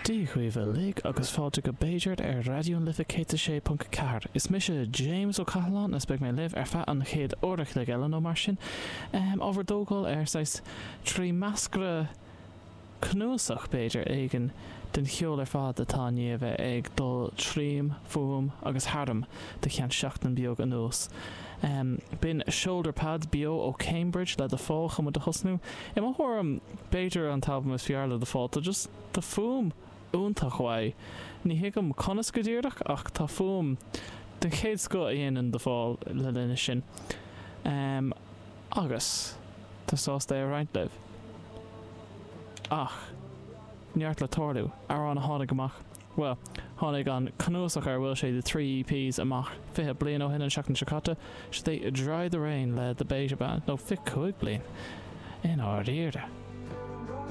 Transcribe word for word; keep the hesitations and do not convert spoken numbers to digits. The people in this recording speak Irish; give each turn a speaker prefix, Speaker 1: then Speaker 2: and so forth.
Speaker 1: Dia dhaoibh uilig agus fáilte go B'fhéidir ar Raidió na Life céad a sé ponc ceathair. Is mise James Ó Cathaláin is beidh mé libh ar feadh an chéad uair a chloig eile nó mar sin. Um, ábhar dógáil ar saghas trí meascra cnuasach b'fhéidir éigin den cheol ar fad atá i ndiaidh a bheith ag dul tríom, fúm agus tharam de cheann seachtain beag anuas. Um, B'in Shoulderpads beo ó Cambridge le The Fall chun muid a thosnú. I mo thuairim b'fhéidir an t-albam is fearr le The Fall tá just tá fuaim iontach uaidh. Ní thuigim conas go díreach ach tá fuaim den chéad scoth a dhéanann The Fall le linne sin. Um, agus tá sásta é a roinnt libh. Ach neart le tarlú amhrán a tháinig amach. Well, tháinig an cnuasach ar bhfuil sé de trí EPs amach fiche bliain ó shin an seachtain seo caite, sé Dry the Rain le The Beta Band nó fiche cúig bliain. I ndáiríre.